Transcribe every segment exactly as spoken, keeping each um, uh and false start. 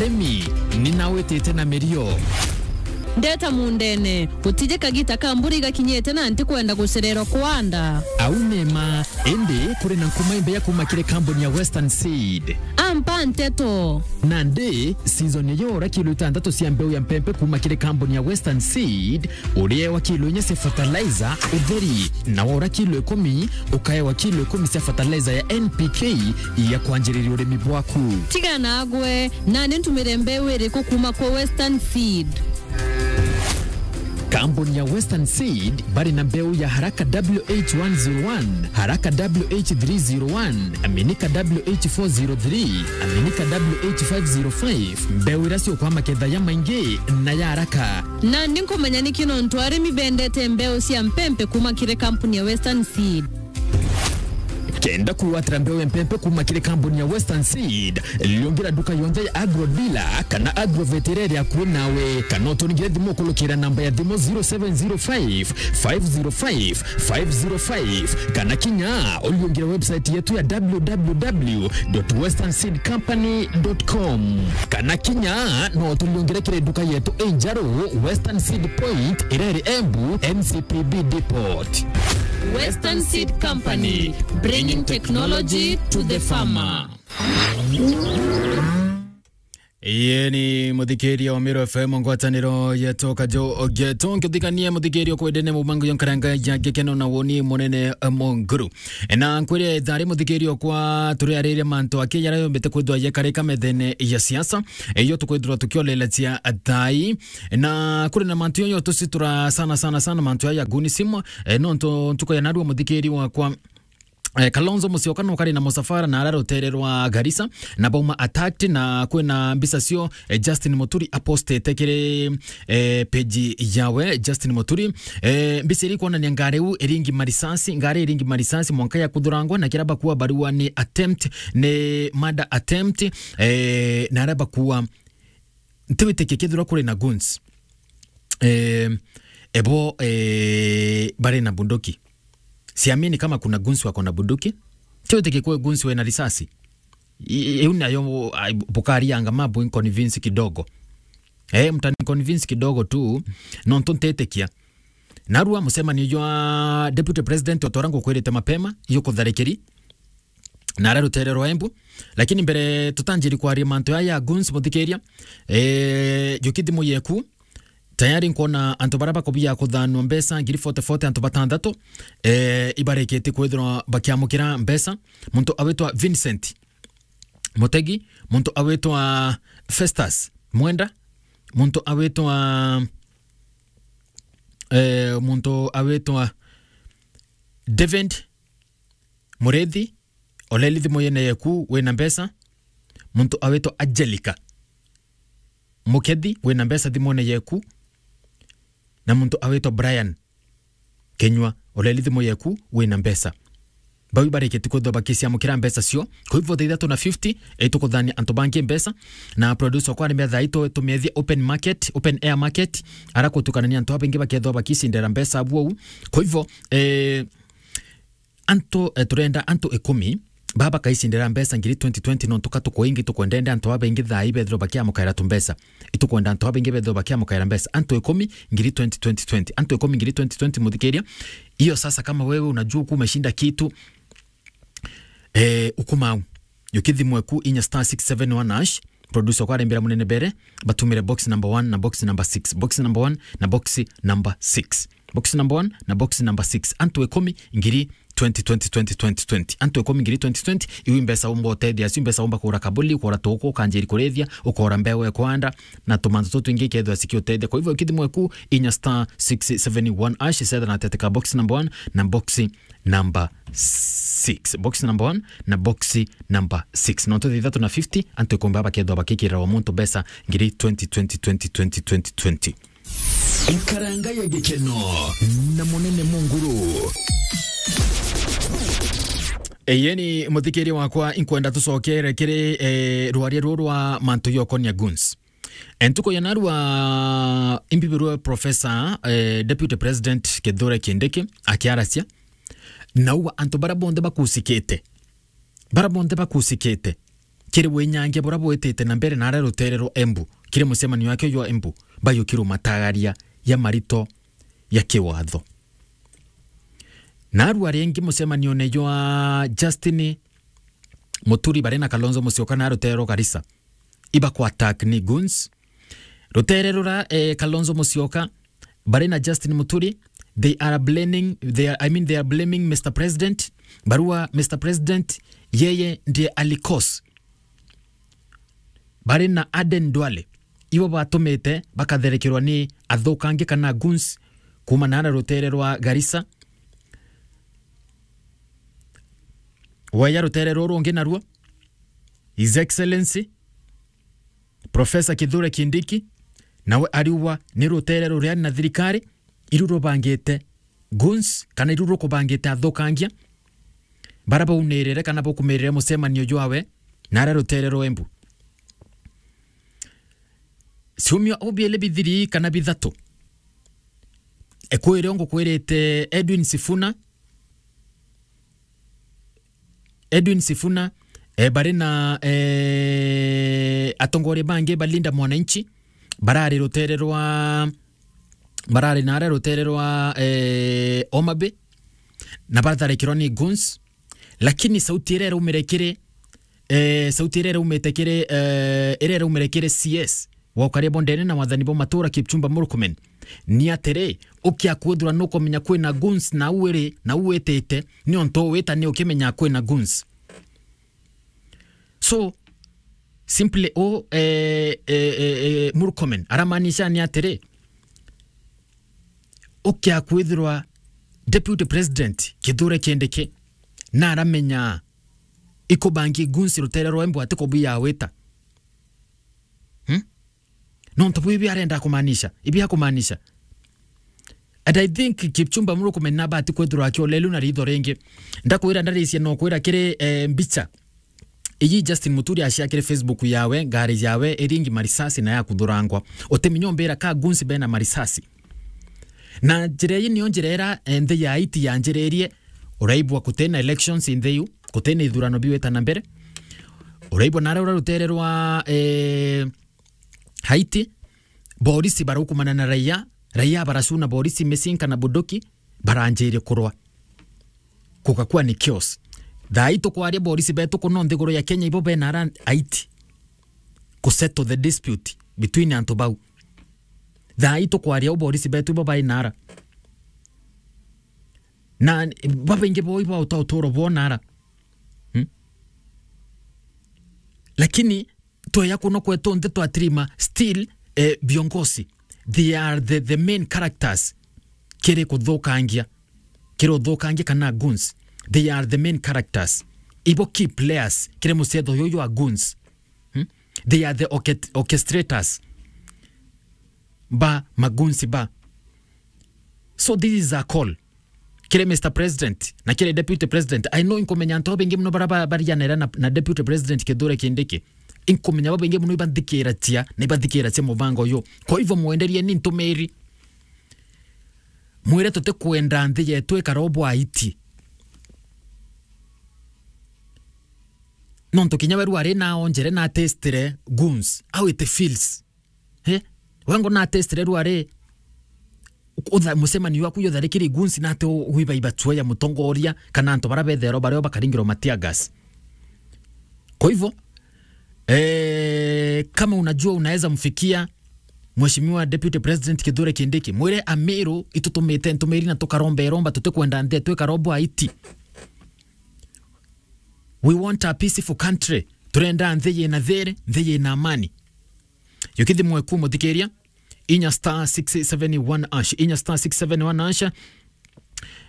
Emi, ni nawitite na mirio. Ndeta mundene, gutije kagita ka mbura igakinyite na ntikwenda gucererwa kwanda. Au ni ma, indi kuri na nkuma imbeya kuma kiri kambuni ya Western Seed. Ampa nteto. Nandi, season iyo ura kilo itantatu cia mbeu ya mpempe kuma kiri kambuni ya Western Seed, uriewa kilo inya cia fertilizer utheri, na wora kilo ikumi, ukaewa kilo ikumi cia fertilizer ya N P K ya kwanjiriria urimi bwaku. Tiga nagwe, nani ntumire mbeu iriku kuma kwa Western Seed? Kambuni ya Western Seed bari na mbeu ya Haraka W H one zero one, Haraka W H three zero one, Aminika W H four zero three, Aminika W H five zero five, mbeu iria ciukwa maketha ya maingi na ya haraka. Nandi nkumenya niki nontu arimi bendete mbeu cia mpempe kuma kiri kampuni ya Western Seed. Kenda kwigwatira mbeu ya mpempe kuma kiri kampuni ya Western Seed, liungira nduka yonthe ya Agro Dealer kana Agrovet iria iri akui nawe, kana uturingire thimu ukurukira namba ya thimu zero seven zero five, five zero five, five zero five, kana kinya uliungire website yetu ya w w w dot western seed company dot com. Kana kinya no turiungire kiri nduka yetu injeru, Western Seed Point, iria iri Embu, N C P B Depot. Western Seed Company, bringing technology to the farmer. Yeni muthikiria wa Meru F M, ngwataniro yetu kajo getu, nkithikanie muthikiria kwendene mubango yo nkaranga ya gikeno na woni munene, eh, Munguru. Na nkwire thari muthikiria kwa turiariria mantu aki yara yombete kwithwa yekarika methene ya siasa, iyo tukwithirwa tukiolelecia thai. Na kuri na mantu yoyo tucitura sana, sana, sana mantu ya gunism, eh, nontu ntuku ya narua muthikiri wakwa, eh, Kalonzo Musyoka no kari na musafara na ara rutere rwa Garissa, na bauma attacked, na kwina mbica cio, eh, Justin Muturi apostete kiri, eh, page yawe, Justin Muturi. Eh, mbica iri kwonania ngari u iringi marisasi, ngari iringi marisasi mwanka ya kuthurangwa, na kira bakua barua ni attempt, ni murder attempt, eh, na ara bakua ntiwitikia kethirwa kuri na goons. Eh, ebo, eh, bari na bunduki. Siamini kama kuna goons wako na bunduki. Ntiwitikia kwe goons wena risasi. I-, i-, iu nayo, ai, bukarianga mambo inconvince kidogo. Eh, mtani convince kidogo tu, nontu ntetikia. Narua mucemanio jwa Deputy President otwara ngukwirite mapema, yukutharikiri. Na ara rutere rwa Embu. Lakini mbere tutanjiri kwaria mantu aya ya goons, muthikiria, eh, juki thimu yeku, tayari nkwona antu bara bakubia kuthanwa mbeca ngiri forty forty, antu batanthatu, eh, ibarikitie kwithirwa bakiamukira mbeca. Muntu awitwa Vincent Mutegi, muntu awitwa Festus Mwenda, muntu awitwa, eh, muntu awitwa David Murithi, oleli thimu yene yeku wina mbeca. Muntu awitwa Angelica Mukethi, wina mbeca thimune yeku. Na muntu awitwa Brian Kenywa, oleli thimu yeku wina mbeca. Bau ibarikitie kwithwa bakiciamukira mbeca cio. Kwa hivyo, thaa ithatu na fifty, itukuthania antu bangi mbeca. Na producer kwa arimia thaa itu tumiethie open market, open air market. Ara kutukanania antu abangi bakethwa bakicindira mbeca bwou. Kwa hivyo, eh, antu, eh, turenda antu ikumi baba bakaicindira mbeca ngiri twenty twenty, nontu ka tukuingi tukwendende antu babaingi thaa ii bethirwe bakiamukaira tumbeca. Itukwenda antu babaingi bethirwe bakiamukaira mbeca. Antu ikumi ngiri twenty twenty twenty. Antu ikumi ngiri twenty twenty, muthikiria. Hiyo sasa, kama wewe unajua kuwa umeshinda kitu, eh, ukumau. Yukithimwe ku inya star six seven one hash. Producer kwa arembera munene bere, batumire box number one na box number six. Box number one na box number six. Box number one na box number six. Antu ikumi ngiri twenty twenty twenty twenty twenty. Antu ikumi ngiri twenty twenty, iu mbeca umba utethia, iu mbeca umba kugura kabuli, ukora tuku, ukanjiri kurithia, ukora mbeu ya kwanda, na tumantu tutu twingi ikethwa cikiutethia. Kwa hivyo, kithimwe ku inya star six seven one hash, setha na teteka box number one na box number six. Box number one na box number six. Nontu thaa ithatu na fifty, antu ikumi baba bakethwa bakikirira wa muntu mbeca ngiri twenty twenty twenty twenty twenty twenty. Nkaranga ya gikeno na munene Munguru. Eyeni, muthikiria wakwa, inkwenda tucokere kiri, eh, rwaria ruru rwa mantu yokonia goons. Entuko ya narua imbibirwe Professor, eh, Deputy President Kithure Kindiki akiaracia, nauga antu bara bonthe bakusikite, bara bonthe bakusikite, kiri winyangia buria bwitite na mbere naria rutere rwa Embu, kiri mucemanio wake jwa Embu, bayukirumatagaria ya marito ya kiwatho. Narua ringi mucemanione jwa Justin Muturi bari na Kalonzo Musyoka na rutere rwa Garissa, iba ku attack ni goons. Rutere rura, eh, Kalonzo Musyoka bari na Justin Muturi, they are blaming, they are, I mean, they are blaming Mister President. Barua Mister President, yeye ndiye alikos. Bari na Aden Duale, ibo batumite bakatherekerwa ni athukangi kana goons kuma naara rutere rwa Garissa. Weya rutere ruru rungi naruo, His Excellency Professor Kithure Kindiki, nawe ariuga ni rutere ruria na thirikari iru rubangite goons, kana iru rukubangite athukangia bara baunirire kana bukumirire mucemanio jwawe naria rutere rwa Embu. Ciumia o biele bithiri kana bithatu, ekwire ngukwirite Edwin Sifuna, Edwin Sifuna, eh, bari na, eh, atongoria bangi ba Linda Mwananchi, barari rutere rwa, barari naria rutere rwa, eh, Homa Bay, na baratharikirwa ni goons, lakini sauti iria iraumire kiri, eh, sauti iria iraumite kiri, eh, iria iraumire kiri C S wa ukaria bondene na wathani bo matura Kipchumba Murkomen, ni atiri, ukia kwithirwa nukumenya kwina goons na uiri na uwitite, ni ontu wita ni ukimenya kwina goons. So, simply u, eh, eh, eh, eh, Murkomen aramaanisha ni atiri, ukia kwithirwa Deputy President Kithure Kindiki na aramenya ikubangi goons rutere rwa Embu ati kubuya wita. Hmm? Nontu bwi ibi arenda kumaanisha, ibi akumaanisha. And I think Kipchumba Murkomen nabati kwithirwa akiolelu na ritho ringi. Ndakwira ndarisia no kwira kiri, eh, mbicha. Iyi Justin Muturi acia kiri Facebook yawe, ngari yawe iringi marisasi na yakuthurangwa. Utimenya umbira ka goons bena marisasi. Na njira iyi niyo njira ira, eh, nthi ya Haiti yanjiririe, uraibwa kutina elections in the U, kutina ithurano biwita na mbere. Uraibwa nare ura rutere rwa, eh, Haiti, borisi barukumana na raia, raia baracuna borisi micinga na bunduki, baranjirie kurwa. Kugakua ni chaos. Thaa ii tukwaria borisi betu kuno nthiguru ya Kenya ibo bena ara Haiti ku settle the dispute between antu bau. Thaa ii tukwaria u borisi betu ibo bai nara. Na babaingi bo ibo uta uturo bwona ara. Hmm? Lakini tweya kuno kwetu nthi twatirima, still, eh, viongozi, they are the, the main characters kiri kuthukangia, kiri uthukangia kana goons. They are the main characters. Ibo key players kiri mucetho yuyu wa goons. Hmm? They are the orchet-, orchestrators ba magoons ba. So this is a call kiri Mister President na kiri Deputy President. I know inkumenya antu babingi muno bara ba-, barianira na, na Deputy President Kithure Kindiki. Inkumenya babingi muno ibathikiracia na ibathikiracia mubango uyu. Kwa hivyo mwenderie ni ntumiri. Mwire tutikwenda nthi yetu ikara o bwaiti. Nontu kinya we rwari na onjere na testire goons, how it feels. He? Wengo na testire rwari, utha-, mucemanio waku yotharikiri goons na ati u-, wibaiba chua ya mutongoria kana antu bara bethero bario bakaringirwa ma tear gas. Kwa hivyo, eh, kama unajua unaweza mfikia Mheshimiwa Deputy President Kithure Kindiki, mwire Amiru itutumite ntumiri na tukaromba iromba tutikwenda nthi yetu ikara o bwaiti. We want a peaceful country. Turenda nthi yina thiri, nthi yina amani. Yukithi mweku muthikiria, inya star six seven one hash, inya star six seven one hash.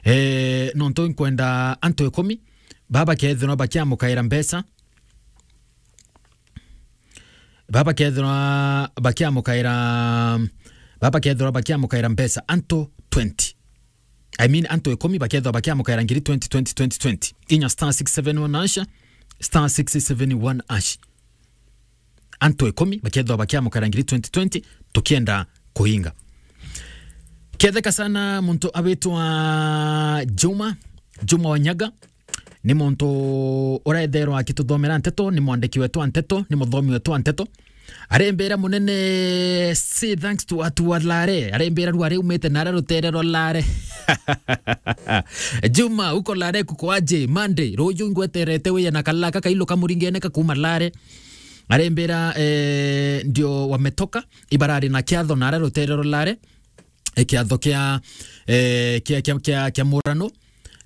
Eh, nontu nkwenda antu ikumi, baba kethirwa bakiamukaira mbeca. Baba kethirwa bakiamukaira, baba kethirwa bakiamukaira mbeca antu twenty. I mean, antu ikumi bakethirwa bakiamukaira ngiri twenty, twenty, twenty, twenty. Inya star six seven one hash, star six seven one hash. Antu ikumi bakethirwa bakiamukara ngiri twenty twenty, tukienda kuinga. Ketheka sana muntu awitwa Juma, Juma Wanyaga. Ni muntu uretherwa akituthomera nteto, ni mwandiki wetu wa nteto, ni muthomi wetu wa nteto. Arembera munene, say thanks to watu wa Lare. Arembera rware umite nara rutere rwa Lare. Juma, uko Lare kuko aje? Monday, ruju ngweterete wiya na kalaka kailu kamuringene kakuma Lare. Arembera, eh, ndio wametoka, ibarari na kiatho nara rutere rwa Lare. E, kiatho kia, e, kia, kia, kia, kia murano,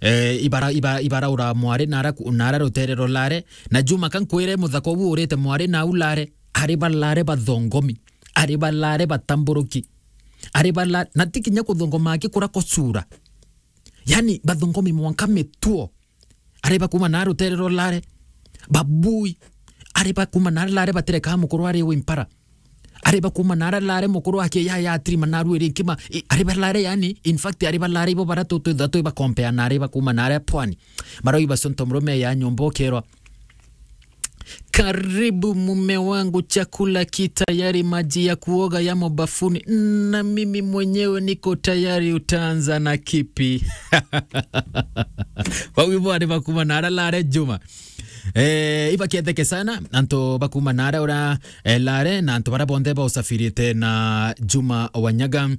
e, ibara, iba, ibaraura mwari nara ku-, nara rutere rwa Lare. Na Juma, ka nkwire muthaka ubu urite mwari nau Lare, ari ba Lare bathongomi, ari ba Lare batamburuki, ari ba La-, na ti kinya kuthongoma aki kura kucura. Yani, bathongomi mwanka mituo. Ari ba kuma na rutere rwa Lare, babui. Ari ba kuma na Lare batereka mukuru ari wi mpara. Ari ba kuma na Lare mukuru ake ya, ya trima na ruiri nkima. I, ari ba Lare, yani, in fact, ari ba Lare ibo bara tu, tu, tu, tu ba compare na ari ba kuma na Lare pwani. Marau iba sonto mrume ya nyombo kerwa. Karibu mume wangu, chakula ki tayari, maji ya kuoga yamo bafuni, na mimi mwenyewe niko tayari. Utaanza na kipi? Bau ibo ari ba kuma na ara Lare Juma. Eh, ibaketheke sana antu ba kuma na ara ura, eh, Lare, na antu bara bonthe bausafirite na Juma Wanyaga.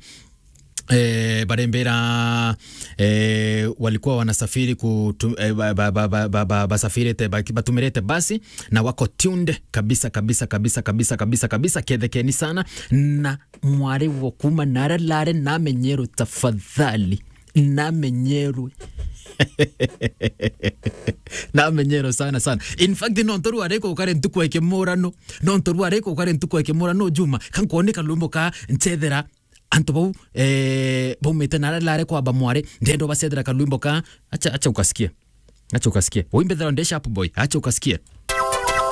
Eh, barembera, eh, walikuwa wanasafiri kutu-, eh, ba, ba, ba, ba, ba, ba, basafirite, ba, batumirite basi, na wako tuned kabisa, kabisa, kabisa, kabisa, kabisa, kabisa. Kethekeni sana, na mwari wo kuma nara Lare namenyerwe tafadhali. Namenyerwe. Namenyerwe sana, sana. In fact, no ntoru ariko ukare ntuku ya kimurano. No ntoru ariko ukare ntuku ya kimurano, Juma. Kankwone kalwimbo ka nchethera antu bau, eh, baumite nara Lare kwamba mwari, ndenda ubacethera kalwimbo ka, acha, acha ukasikie. Acha ukasikie. Uimbethera nde Sharp Boy. Acha ukasikie.